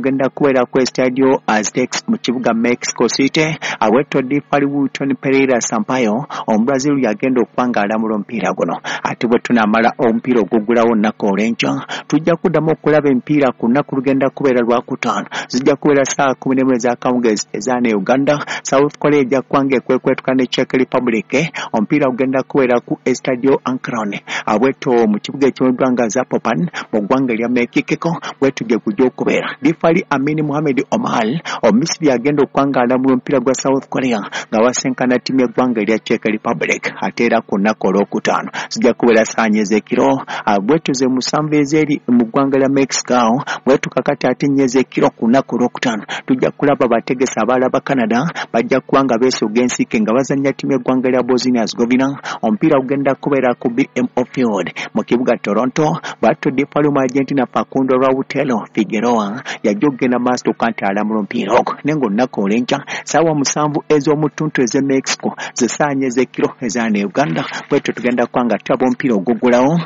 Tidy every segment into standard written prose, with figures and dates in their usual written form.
Genda kubeera ku Estadio Aztecs mu kibuga Mexico City. Awetto difali Wilton Pereira Sampaio Omubrazil yagenda okuba nga alamula omupiira guno. Ate bwe tunaamala omupiira oguggulawo olunaku olw'enkya, tujja kuddamu okulaba emipiira ku lunaku lugenda kubeera Lwakutaano. Zijja kubeera ssaawa 11 ez'akawungeezi eza ne Uganda. South Korea ejja kuba nga ekwekwetuka ne Czech Republic. Omupiira gugenda kubeera ku Estadio Akron, abwetto mu kibuga ekimanyiddwa nga Zapopan mu ggwanga erya Mexico. Bwetu gye gujja okubeera. Difali Amini Muhamed Omar Omumisiri agenda okuba nga alamula omupiira gwa South Korea nga basinkana ttiimu y'eggwanga erya Czech Republic. Ate era ku lunaku olwokutaano zijja kubeera ssaawa 4 ez'ekiro, bwetu ze 7 ez'eri mu ggwanga lya Mexico. Bwetu kakati ate 4 ez'ekiro ku lunaku olwokutaano tujja kulaba bategesi abalala ba Canada bajja kuba nga beesoga ensiike nga bazannya ttiimu y'eggwanga lya Bosnia Herzegovina. Omupiira gugenda kubeera ku BMO Field mu kibuga Toronto. Bwatyo difali mu Argentina Facundo Lautaro Figueroa yajja okugenda maaso tokka nti alamula omupiira ogwo. Naye ng'olunaku olw'enkya ssaawa 7 ez'omutuntu ez'e Mexico ze ssaawa 4 ez'ekiro eza ne Uganda. Bwetyo tugenda kuba nga tulaba omupiira oguggulawo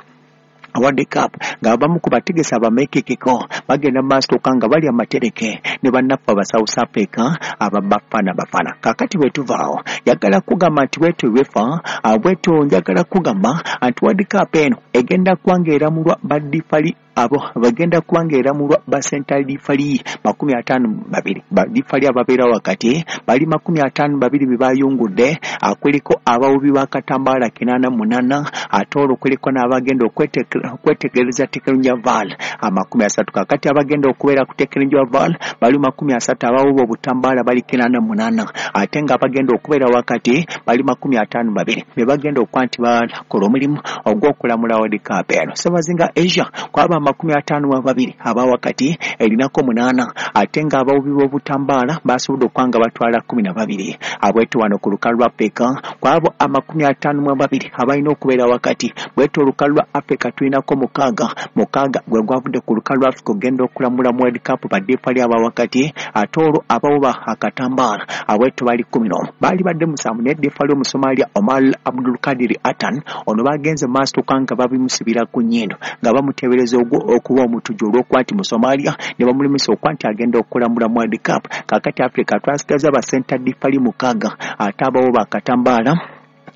World Cup ng'abamu ku bategesi abamekekeko bagenda maaso tokka nga bali amatereke ne bannaffe aba South Africa aba Bafana Bafana. Kaakati bwe tuvaawo, njagala kugamba nti bwetyo UEFA, bwetyo njagala kugamba nti World Cup eno egenda kuba ng'eramulwa badifali abo bagenda kuba ng'eramulwa ba center referee 52. Badifali ababeera wakati bali 52 be bayungudde. Kuliko abawubi b'akatambaala 88, ate olwo kuliko n'abagenda okwetegereza tekinologiya VAR 30. Kakati abagenda okubeera ku tekinologiya VAR bali 30, abawuba obutambaala bali 88, ate nga abagenda okubeera wakati bali 52 be bagenda okuba nti bakola omulimu ogw'okulamula World Cup eno. Ssebazinga Asia kwaba 52 aba wakati erinako 8, ate ng'abawubi b'obutambaala basobodde okuba nga batwala 12. Abweto wano ku lukalu lwa Afrika kwabo 52 abalina okubeera wakati, bwetyo olukalu lwa Afrika tulinako 6. 6 gwe gwavudde ku lukalu lwa Afrika okugenda okulamula mu World Cup badifali aba wakati. Ate olwo abawuba akatambaala abweto bali 11, baali badde 7, naye difali Omusomalia Omar Abdulkadiri Atan ono bagenze maaso tokka nga babimusibira ku nnyindo nga bamuteebereza ogwo okuba omutujju olw'okuba nti Musomalia, ne bamulemesa okuba nti agenda okulamula mu World Cup. Kaakati Africa twasigaza ba center difali 6, ate abawuba akatambaala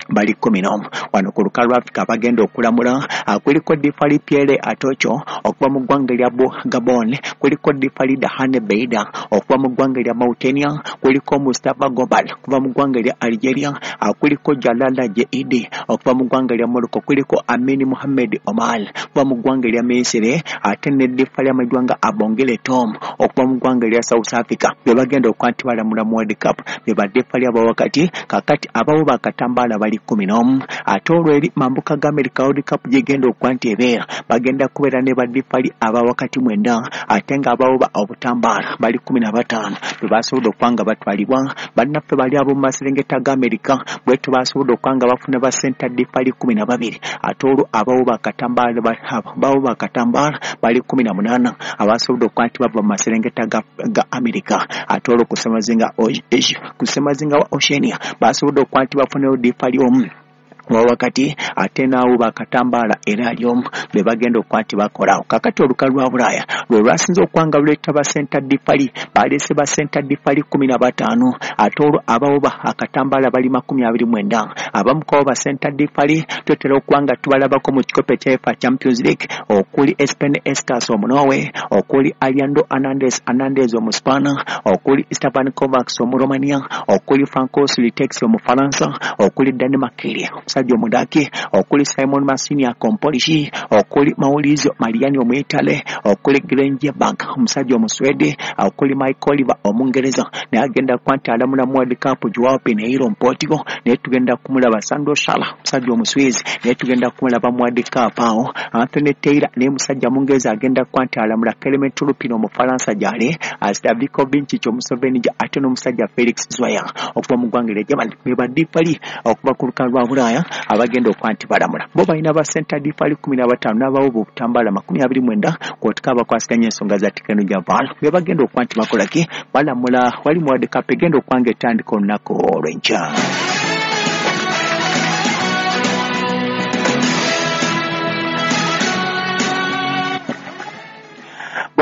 bali 11. Wano ku lukalu lwa Afrika abagenda okulamula kuliko difali Pierre Atocho okuva mu ggwanga erya Gabon, kuliko difali Dahane Beida okuva mu ggwanga erya Mauritania, kuliko Mustapha Gobal okuva mu ggwanga erya Algeria, kuliko Jalala Jeidi okuva mu ggwanga erya Morocco, kuliko Amini Muhammed Omar okuva mu ggwanga erya Misiri, ate ne difali amanyiddwa nga Abongile Tom okuva mu ggwanga erya South Africa. Be bagenda okuba nti balamula mu World Cup be badifali abawakati. Kakati abawuba akatambaala bali 11. Ate olwo eri mambuka ga America World Cup gyegenda okuba nti ebeera, bagenda kubeera ne badifali abawakati 9, ate ng'abawuba obutambaala bali 15 be basobodde okuba nga batwalibwa. Bannaffe bali ab'omu maserengeta ga Amerika bwetyo basobodde okuba nga bafuna ba center difali 12, ate olwo abawuba akatambaala bali 18 abasobodde okuba nti bava mu maserengeta ga Amerika. Ate olwo ku ssemazinga wa Oceania basobodde okuba nti bafunayo difali omu wawakati, ate n'awuba akatambaala era ali omu be bagenda okuba nti bakolawo. Kakati olukalu lwa Bulaaya lwe lwasinze okuba nga luleeta ba center difali, baleese ba center difali 15, ate olwo abawuba akatambaala bali 29. Abamu kwabo ba center difali tutera okuba nga tubalabako mu kikopo ekya UEFA Champions League, okuli Espen Eskas Omunorway, okuli Alejandro Hernandez Hernandez Omuspana, okuli Stefan Kovacs Omuromania, okuli Francois Letexier Omufalansa, okuli Danny Makkelie omusajja Omudaki, okuli Szymon Marciniak Omupolishi, okuli Maurizio Mariani Omuitale, okuli Glenn Nyberg omusajja Omuswede, okuli Michael Oliver Omungereza. Naye agenda kuba nti alamula mu World Cup Joao Pinheiro Omuportugal, naye tugenda kumulaba. Sandro Schaller omusajja Omuswizi, naye tugenda kumulaba mu World Cup awo. Anthony Taylor naye musajja Mungereza agenda kuba nti alamula. Clement Turpin Omufalansa gyale, Slavko Vincic Omuslovenija, ate n'omusajja Felix Zwayer okuva mu ggwanga erya Germany be badifali okuva ku lukalu lwa Bulaaya abagenda okuba nti balamula. Bo balina ba center difali 15 n'abawuba obutambaala 29, kwotika abakwasaganya ensonga za tekinologiya VAR be bagenda okuba nti bakola ki, balamula wali mu World Cup egenda okuba nga etandika olunaku olw'enkya.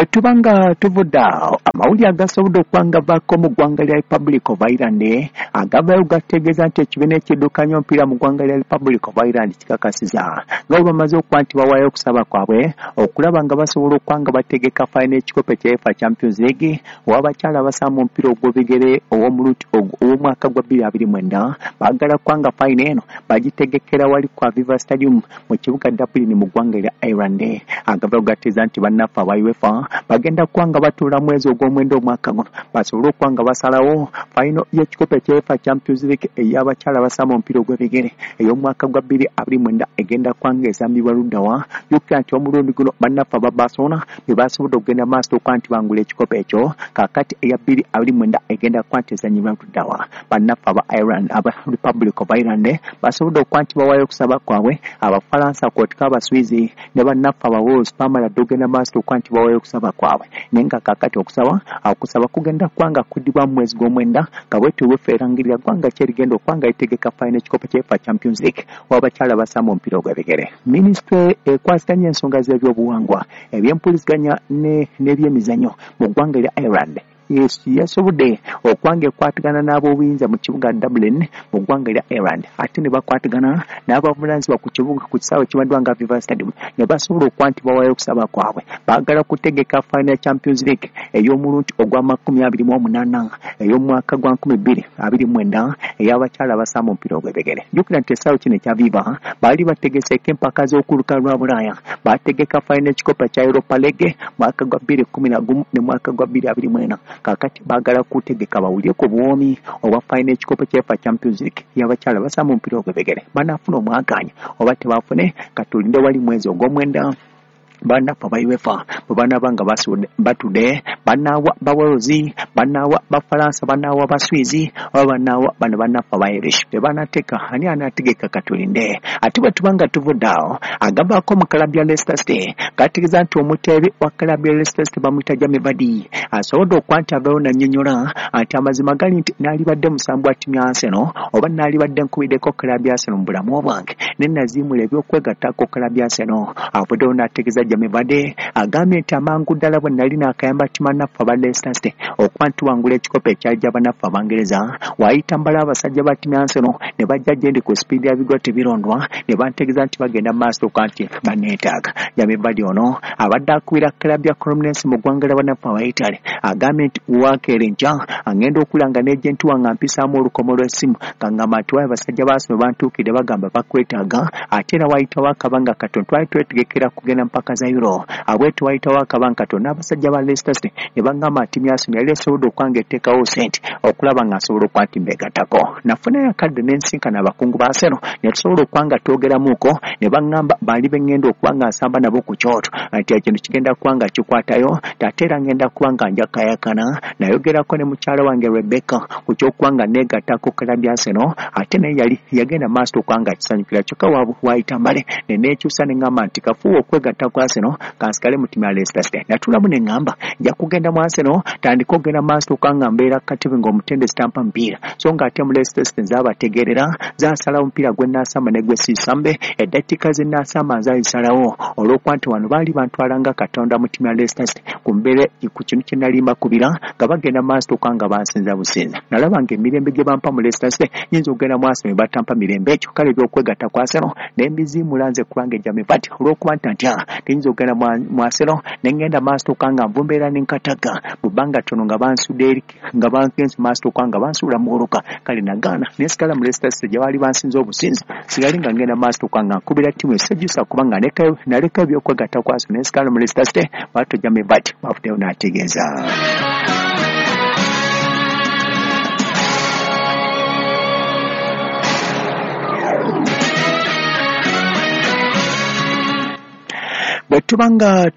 Bwe tuba nga tuvudde awo, amawulire agasobodde okuba nga vaako mu ggwanga lya Republic of Ireland agavaayo gategeeza nti ekibiina ekiddukanya omupiira mu ggwanga lya Republic of Ireland kikakasiza nga bwe bamaze okuba nti bawaayo okusaba kwabwe okulaba nga basobola okuba nga bategeka fayina ekikopo ekya UEFA Champions League ow'abakyala abasamba omupiira ogw'ebigere ow'omwaka gwa 2029. Baagala kuba nga fayina eno bagitegekera wali ku Aviva Stadium mu kibuga Dublin mu ggwanga lya Ireland. Agavaayo gategeeza nti bannaffe aba UEFA bagenda kuba nga batuula mwezi ogw'omwenda omwaka guno basobole okuba nga basalawo fayino y'ekikopo ekya UEFA Champions League ey'abakyala abasamba omupiira ogw'ebigere ey'omwaka gwa 2029 egenda kuba nga esambibwa luddawa. Jjukira nti omulundi guno bannaffe aba Barcelona be basobodde okugenda maaso okuba nti bangula ekikopo ekyo, kaakati eya 2029 egenda kuba nti ezannyibwa luddawa. Bannaffe aba Ireland, aba Republic of Ireland basobodde okuba nti bawaayo okusaba kwabwe, Abafalansa kw'otika Abaswizi ne bannaffe aba Wales baamala dda okugenda maaso okuba nti bawaayo okusaba kwabwe, naye nga kaakati okusaba kugenda kuba nga kuddibwa mu mwezi gw'omwenda nga bwetyo UEFA erangirira ggwanga ki erigenda okuba nga litegeka fayina ekikopo kya UEFA Champions League w'abakyala abasamba omupiira ogw'ebigere. Minisitule ekwasaganya ensonga z'ebyobuwangwa, ebyempuliziganya n'ebyemizannyo mu ggwanga lya Ireland yasobodde okuba nga ekwatagana n'ab'obuyinza mu kibuga Dublin mu ggwanga lya Ireland, ate ne bakwatagana n'abavunaanyizibwa ku kibuga ku kisaawe ekimanyiddwa nga Aviva Stadium ne basobola okuba nti bawaayo okusaba kwabwe. Baagala kutegeka fayina ya Champions League ey'omulundi ogwa 28 ey'omwaka gwa 2029 ey'abakyala abasamba omupiira ogw'ebigere. Jjukira nti ekisaawe kino ekya Aviva baali bategeseeko empaka z'okuluka lwa Bulaaya, baategeka fayina ekikopo kya Europa League mwaka gwa 2011 ne mwaka gwa 2024. Kaakati baagala kutegeka bawulire ku buwoomi obwa fayina ekikopo kya UEFA Champions League y'abakyala abasamba omupiira ogw'ebigere. Banaafuna omwagaanya oba tebaafune, katulinde wali mwezi ogw'omwenda bannaffe aba UEFA bwe banaaba nga batudde, banaawa ba Wales, banaawa Bafalansa, banaawa Baswizi oba banaawa bano bannaffe aba Irish. Tebanateeka, ani anaategeka, katulinde. Ate bwe tuba nga tuvudde awo, agavaako mu club ya Leicester City gategeeza nti omuteebi wa club ya Leicester City bamuyita Jamie Vardy asobodde okuba nti avaayo n'annyonnyola nti amazima gali nti naalibadde musambi wa ttiimu ya Arsenal oba naalibadde nkubiddeko club ya Arsenal mu bulamu bwange ne naziimula ebyokwegattako club ya Arsenal. Avuddeyo n'ategeeza Jamie Vardy agambye nti amangu ddala bwe nali naakayamba ttiimu naffe aba Leicester City okuba nti tuwangula ekikopo ekyali gy'abannaffe Abangereza, waayita mbala abasajja ba ttiimu ya Arsenal ne bajja gye ndi ku sipiidi ya bigwa tebirondwa ne bantegeeza nti bagenda mu maaso okuba nti banneetaaga. Jamie Vardy ono abadde akubira club ya Cremonese mu ggwanga ly'abannaffe aba Italy agambye nti wakeera enkya agenda okulanga n'ejenti wange ampisaamu olukomo lw'essimu ng'angamba nti waayo abasajja ba Arsenal bantuukidde bagamba bakwetaaga, ate era waayitawo akabanga katono twali twetegekera kugenda mpaka za Euro, abwetu waayitawo akabanga katono n'abasajja ba Leicester City ne bagamba nti ttiimu ya Arsenal yali esobodde okuba nga eteekawo ssente okulaba nga nsobola okuba nti mbeegattako. Nafunayo akadde ne nsinkana abakungu ba Arsenal ne tusobola okuba nga twogeramuuko ne baŋŋamba baali be ŋŋenda okuba nga nsamba nabo ku kyoto nti ekintu kigenda kuba nga kikwatayo, ate era ŋŋenda kuba nga njakayakana. Nayogerako ne mukyala wange Rebecca ku ky'okuba nga neegattako club ya Arsenal, ate naye yali yagenda maaso okuba nga akisanyukira, kyokka waayita mbale ne neekyusa ne ŋŋamba nti kafuuwe okwegatta ku Arsenal kansigale mu ttiimu ya Leicester City. Natuulamu ne ŋŋamba nja kugenda mu Arsenal tandika okugenda maaso okuba nga mbeera katebe ng'omutendesi tampa mupiira, so ng'ate mu Leicester City nzaabategeerera, nzaasalawo omupiira gwe nnaasamba ne gwe siisambe, eddakiika ze nnaasamba nzaazisalawo olw'okuba nti wano baali bantwala nga Katonda mu ttiimu ya Leicester City ku mbeera ku kintu kye nali mbakubira nga bagenda maaso okuba nga bansinza businza. Nalaba ng'emirembe gye bampa mu Leicester City nnyinza okugenda mu Arsenal ne batampa mirembe ekyo, kale ebyokwegatta ku Arsenal ne mbiziimula nze kubanga Jamie Vardy olw'okuba nti ntya tiyinza okugenda mu Arsenal ne ŋŋenda maaso okuba nga nvumbeera ne nkatagga mu bbanga ttono nga bansudde eri nga bangenze maaso okuba nga bansuula mu oluka, kale nagaana ne nsigala mu Leicester City gye baali bansinza obusinza, sigali nga ngenda maaso okuba nga nkubira ttiimu esejjusa kubanga naleka ebyokwegatta ku Arsenal ne nsigala mu Leicester City. Bw'atyo Jamie Vardy bw'avuddeyo n'ategeeza. Bwe tuba nga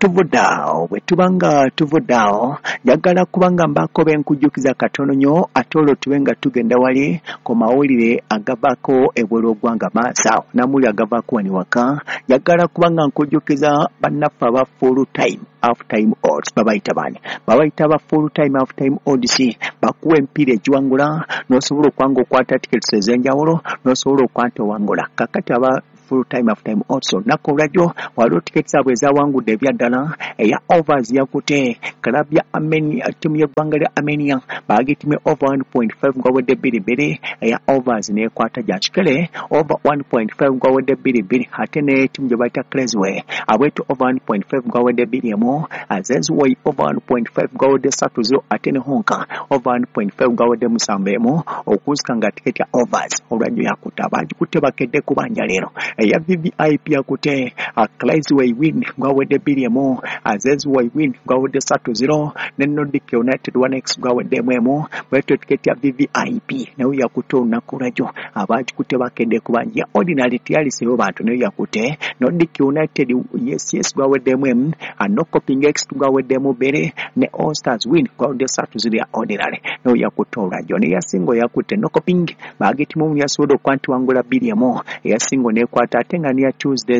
tuvudde awo, njagala kuba nga mbaako be nkujjukiza katono nnyo, ate olwo tube nga tugenda wali ku mawulire agavaako ebweru w'eggwanga maaso awo n'amawulire agavaako wano ewaka. Njagala kuba nga nkujjukiza bannaffe aba full time half time odds, babayita baani? Babayita ba full time half time odds, bakuwa emipiira egiwangula n'osobola okuba nga okwata tickets ez'enjawulo n'osobola okuba nti owangula. Kaakati aba Full Time Half Time Odds. Olunaku olwajjo waliwo tiketi zaabwe ezawangudde ebyaddala. Eya overs yakute club ya Armenia, ttiimu y'eggwanga lya Armenia baagitimye over 1.5 gwawedde 2-2. Eya overs n'ekwata gya kikere over 1.5 gwawedde 2-2. Ate ne ttiimu gye bayita Cresway abwetu over 1.5 gwawedde 2-1. Zezway over 1.5 gwawedde 3-0. Ate ne Honka over 1.5 gwawedde 7-1. Okusika nga tiketi ya overs olwajjo yakutte, abagikutte bakedde kubanja leero. Eya VVIP yakute Cresway win gwawedde 2-1, Zezway win gwawedde 3-0, ne Nordic United 1x gwawedde 1. Bwetyo tiketi ya VVIP nayo yakutte olunaku lwajjo, abagikutte bakedde kubanja. Ordinary teyaliseyo bantu, nayo yakutte Nordic United yes gwaweddemu 1, Nokoping X gwaweddemu 2, ne All Stars win gwawedde 3-0 ya ordinary nayo yakutte olwajjo. Ne yasingo yakutte Nokoping bagitimu yasobodde okuba nti wangula 2-1, eyasingo nekwata. Ate nga neya Tuesday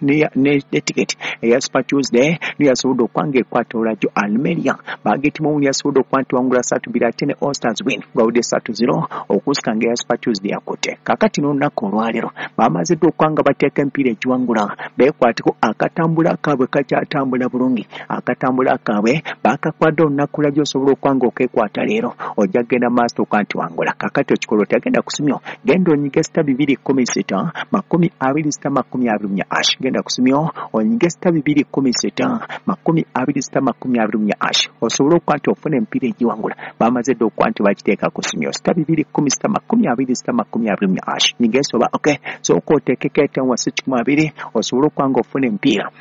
ne ticket eya Super Tuesday niyo yasobodde okuba nga ekwata olwajjo. Almeria bagitimu yasobodde okuba nti wangula 3-2, ate ne All Stars win gwawedde 3-0. Okusika nga eya Super Tuesday yakutte. Kakati n'olunaku olwaleero bamaze dda okuba nga bateeka emipiira egiwangula, beekwateko akatambula kaabwe kakyatambula bulungi. Akatambula kaabwe bakakwadde olunaku lwajjo, osobola okuba nga okekwata leero, ojja kgenda maaso okuba nti wangula. Kakati okikola otagenda kusimyo, genda onyige *216 20 *24 hash. Genda kusimyo onyige *216 20 *24 hash, osobole okuba nti ofuna emipiira egiwangula. Bamaze dda okuba nti bakiteeka ku simyo *216 20 *24 hash. Nyiga esoba okay, sooka oteekeko etaano wasi 120 osobole okuba nga ofuna emipiira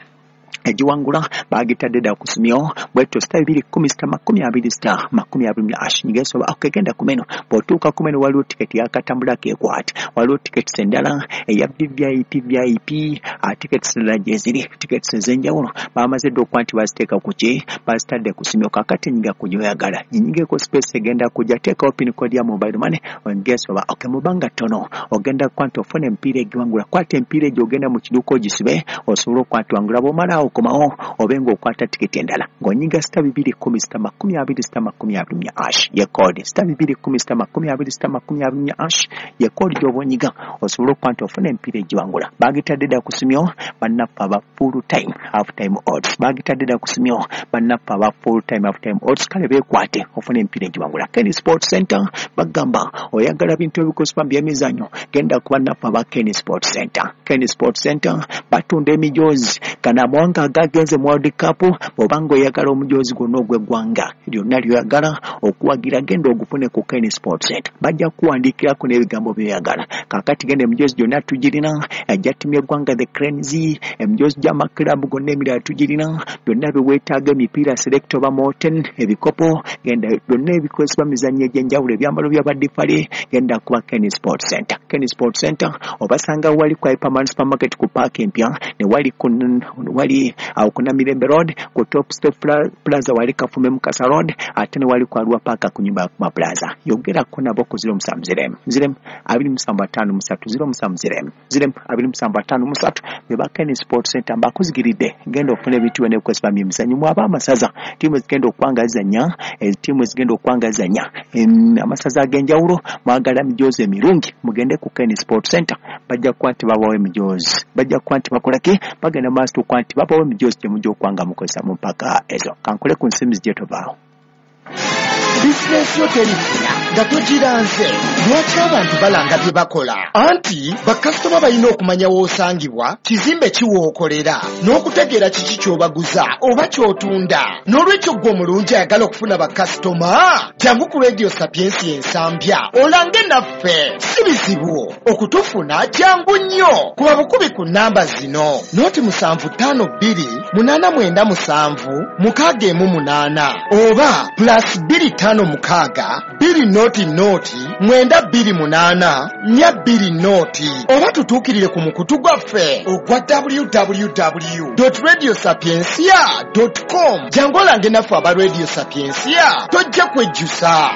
egiwangula. Bagitadde dda ku simyo bwetyo *216 20 *24 hash. Nyiga esoba okay, genda ku menu. Bw'otuuka ku menu waliwo tiketi yakatambula kekwata, waliwo tiketi endala eya VVIP, VIP tickets endala gyeziri, tickets ez'enjawulo bamaze dda okuba nti baziteeka ku ki, bazitadde ku simyo. Kakati nyiga ku gyoyagala, ginyigeko space egenda kujja, teekawo pin code ya mobile money, onyige esoba okay. Mu bbanga ttono ogenda kuba nti ofuna emipiira egiwangula. Kwata emipiira egyo, ogenda mu kiduuka ogisibe osobole okuba nti wangula. Bw'omalaawo okomawo obe ng'okwata tiketi endala ng'onyiga *216 20 *24 hash ye code. *216 20 *24 hash ye code gy'oba onyiga osobole okuba nti ofuna emipiira egiwangula. Bagitadde dda ku simyo bannaffe aba Full Time Half Time Odds, bagitadde dda ku simyo bannaffe aba Full Time Half Time Odds. Kale beekwate ofuna emipiira egiwangula. Ken Sport Center bagamba oyagala bintu ebikozesebwa mu byemizannyo, genda ku bannaffe aba Ken Sport Center. Ken Sport Center batunda emijoozi gano amawanga agagenze mu World Cup. Bw'obanga oyagala omujoozi gwonna ogw'eggwanga lyonna lyoyagala okuwagira, genda ogufune ku Ken Sport Center, bajja kuwandiikirako n'ebigambo byoyagala. Kakati genda, emijoozi gyonna tugirina, ejja ttiimu y'eggwanga the Cranes, emijoozi gy'amakirabu gonna emirala tugirina, byonna byeweetaaga, emipiira select oba Molten, ebikopo, genda byonna ebikozesebwa mizannyo egy'enjawulo, ebyambalo by'abadifale, genda kuba Ken Sport Center. Ken Sport Center obasanga wali ku Hyperman Supermarket ku paaka empya, ne wali ku wali awo ku Namirembe Road ku Top Step Plaza, wali Kafume Mukasa Road, ate ne wali ku Arua Park ku nyumba ya Kuma Plaza. Yogerako nabo ku 07 0 0 27 53 07 0 0 27 53 beba Ken Sport Center. Mbakuzigiridde, genda ofuna ebintu byonna ebikozesebwa mu byemizannyo. Mwaba amasaza, ttiimu ezigenda okwangazanya, ttiimu ezigenda okwangazanya amasaza ag'enjawulo, mwagala emijoozi emirungi, mugende ku Ken Sport Center, bajja kuba nti babawo emijoozi, bajja kuba nti bakolaki, bagenda maaso okuba nti babawo emijoozi gye mujja okuba nga mukozesa mu mpaka ezo. Kankole ku nsimbi gye tovaawo. Bizinesi yo terifuna nga togiranze. Lwaki abantu balanga bye bakola? Anti bakasitoma balina okumanya w'osangibwa, kizimbe kiwookolera, n'okutegeera kiki ky'obaguza oba ky'otunda. N'olwekyo ggwe omulungi ayagala okufuna bakasitoma, jangu ku Radio Sapiensi ensambya olange naffe. Si bizibu okutufuna, jangu nnyo kuba bukubi ku namba zino: 075 289 7 618 oba +256 200 928 420, oba tutuukirire ku mukutu gwaffe ogwa www radio sapiencia com. Jangu olange naffe aba Radio Sapiencia, tojja kwejjusa.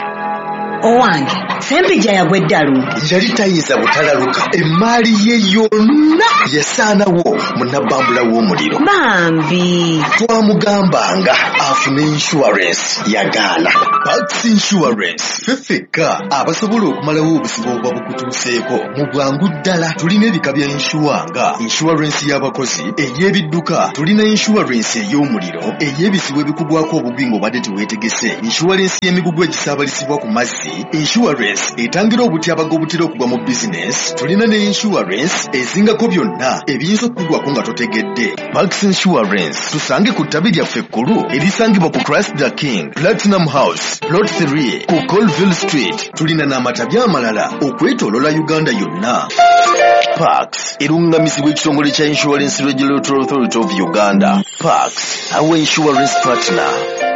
Owange, Ssempijja yagwa eddalu. Yali tayinza butalaluka, emmaali ye yonna yasaanawo mu nabbambula w'omuliro. Bambi. Twamugambanga afune insurance, yagaana. Pax Insurance, ffe ffekka abasobola okumalawo obuzibu obuba bukutuuseeko mu bwangu ddala. Tulina ebika bya insure nga insurance y'abakozi, ey'ebidduka, tulina insurance ey'omuliro, ey'ebizibu ebikugwako obugwi ng'obadde teweetegese, insurance y'emigugu egisaabalizibwa ku mazzi, insurance etangira obutyabaga obutera okugwa mu bizinesi, tulina ne insurance ezingako byonna ebiyinza okukugwako nga totegedde. Pax Insurance, tusange ku ttabi lyaffe ekkulu erisangibwa ku Christ the King Platinum House, Plot 3 ku Colville Street. Tulina n'amatabi amalala okwetoolola Uganda yonna. Pax erungamizibwa ekitongole kya Insurance Regulatory Authority of Uganda. Pax, our insurance partner.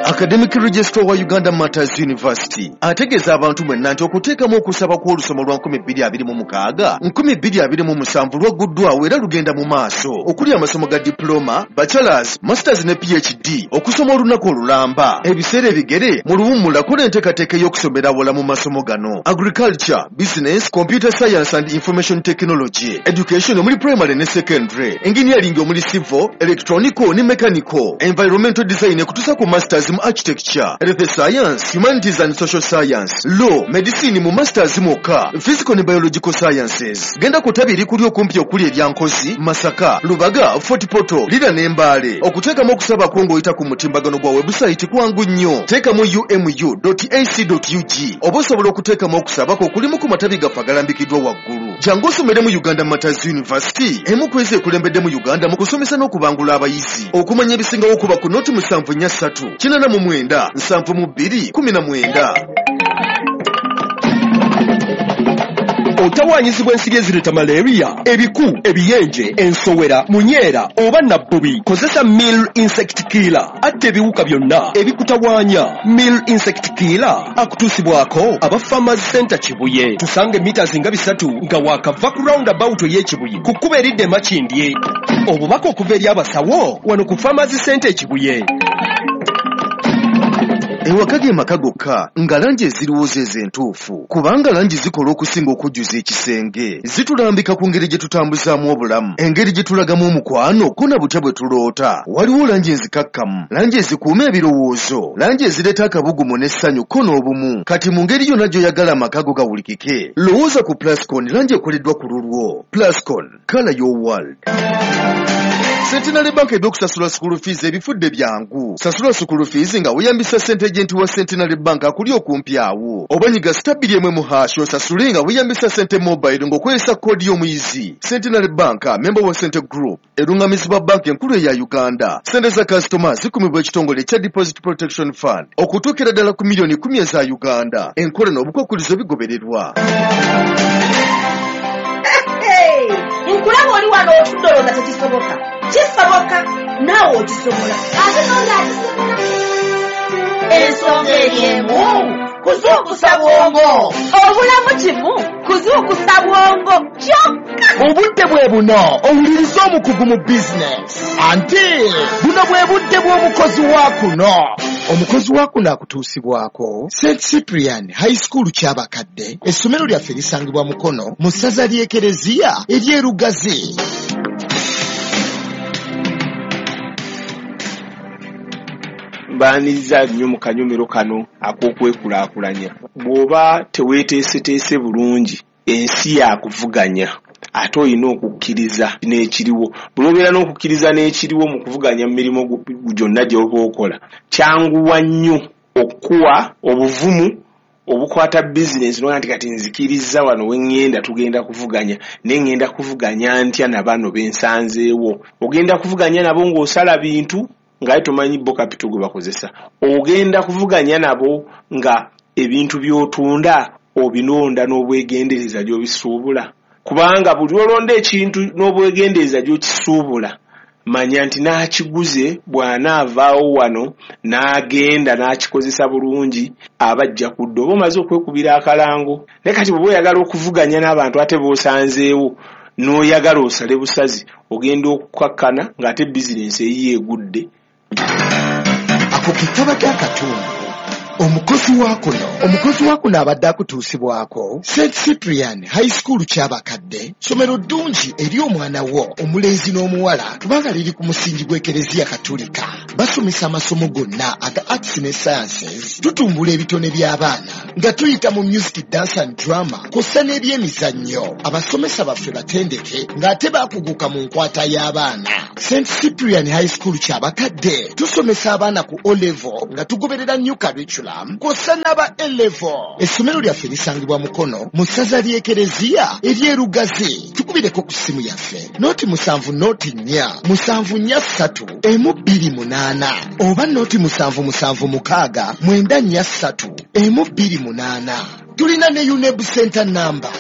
Academic Registrar wa Uganda Martyrs University ategeeza abantu mwenna nti okuteekamu okusaba kw'olusoma lwa 2026 2027 lwagguddwawo era lugenda mu maaso, okuli amasomo ga diploma, bachelors, masters ne PhD, okusoma olunaku olulamba, ebiseera ebigere mu luwummula. Kola enteekateeka ey'okusomera awala mu masomo gano: agriculture, business, computer science and information technology, education omuli primary ne secondary, engineering omuli civil, electronical ne mechanical, environmental design ekutuusa ku masters mu architecture, health science, humanities and social science, law, medicine mu masters mwokka, physical ne biological sciences. Genda ku ttabi erikuli okumpi okuli erya Nkozi, Masaka, Lubaga, Fort Portal, Lira ne Mbale. Okuteekamu okusaba kwo ng'oyita ku mutimbagano gwa website kwangu nnyo. Teekamu umu.ac.ug oba osobola okuteekamu okusaba kwo okulimu ku matabi gaffe agalambikiddwa waggulu. Jangu osomere mu Uganda Martyrs University, emu ku ezo ekulembedde mu Uganda mu kusomesa n'okubangula abayizi. Okumanya ebisingawo kuba ku noti 743 89 72 19. Otawaanyizibwa ensiri ezireeta malaria, ebiku, ebiyenje, ensowera, munyeera oba nabbubi. Kozesa Mill Insect Killer, atta ebiwuka byonna ebikutawaanya. Mill Insect Killer akutuusibwako aba Farmers Center Kibuye. Tusange mita nga 3 nga waakava ku roundabout ey'Ekibuye ku kkubo eridda e Makindye. Obubaka okuva eri abasawo wano ku Farmers Center e Kibuye. Ewaka ge maka gokka nga langi eziriwo zeezo entuufu, kubanga langi zikola okusinga okujjuza ekisenge. Zitulambika ku ngeri gye tutambuzaamu obulamu, engeri gye tulagamu omukwano, ko na butya bwe tuloota. Waliwo langi enzikakkamu, langi ezikuuma ebirowoozo, langi ezireeta akabugumu n'essanyu ko n'obumu. Kati mu ngeri yonna gy'oyagala amaka go gawulikike, lowooza ku Plascon, langi ekoleddwa ku lulwo. Plascon, color your world. Centenary Bank ebyokusasula school fees ebifudde byangu. Sasula school fees nga weeyambisa Sente Agent wa Centenary Bank akuli okumpi awo, oba nyiga *2 1 hash osasule nga weeyambisa Sente Mobile ng'okozesa koodi y'omuyizi. Centenary Bank, member wa Sente Group, erungamizibwa banka enkulu eya Uganda. Sente za kasitoma zikumibwa ekitongole ekya Deposit Protection Fund okutuukira ddala ku miliyoni 10 eza Uganda. Enkola n'obukwakulizo bigobererwa. Nkulaba oli wano otudde olowooza tekisoboka. Kisoboka, naawe okisobola, ate noli akisobola. Ensonga eri emu, kuzuukusa bwongo. Obulamu kimu kuzuukusa bwongo kyokka. Obudde bwe buno owuliriza omukugu mu bizinesi, anti buno bwe budde bw'omukozi wa kuno. Omukozi wa kuno akutuusibwako St Cyprian High School Kyabakadde. Essomero lyaffe lisangibwa Mukono mu ssaza ly'Ekereziya ery'Erugazi. Mbaaniriza nnyo mu kanyomero kano ak'okwekulaakulanya. Bw'oba teweeteeseteese bulungi, ensi yakuvuganya, ate olina okukkiriza n'ekiriwo. Buli obeera n'okukkiriza n'ekiriwo mu kuvuganya mu mirimu gyonna gy'oba okola, kyanguwa nnyo okukuwa obuvumu obukwata bizinensi n'ogamba nti kati nzikirizza wano we ŋŋenda tugenda kuvuganya, naye ŋŋenda kuvuganya ntya na bano be nsanzeewo? Ogenda kuvuganya nabo ng'osala bintu ng'aye tomanyi bo kapito gwe bakozesa. Ogenda kuvuganya nabo nga ebintu by'otunda obinonda n'obwegendereza gy'obisuubula. Kubanga buli olonda ekintu n'obwegendereza gy'okisuubula, manya nti n'akiguze bw'anaavaawo wano n'agenda n'akikozesa bulungi aba ajja kudda, oba omaze okwekubira akalango. Naye kati bw'oba oyagala okuvuganya n'abantu ate b'osanzeewo n'oyagala osale busazi, ogenda okukakkana ng'ate bizinensi eyiyo egudde. Ako ke kabadde akatundu Omukozi wa kuno, omukozi wa kuno abadde akutuusibwako St Cyprian High School Kyabakadde, ssomero ddungi eri omwana wo omulenzi n'omuwala kubanga liri ku musingi gw'Ekereziya Katulika. Basomesa amasomo gonna aga arts ne sciences. Tutumbula ebitone by'abaana nga tuyita mu music, dance and drama kw'ossa n'ebyemizannyo. Abasomesa baffe batendeke ng'ate baakuguka mu nkwata y'abaana. St Cyprian High School Kyabakadde tusomesa abaana ku O level nga tugoberera new curriculum kw'ossa n'aba A level. Essomero lyaffe lisangibwa Mukono mu ssaza ly'Ekereziya ery'Erugazi. Tukubireko ku ssimu yaffe 0 7 04 743 128 oba 077 694 3 128. Tulina ne UNEB center number.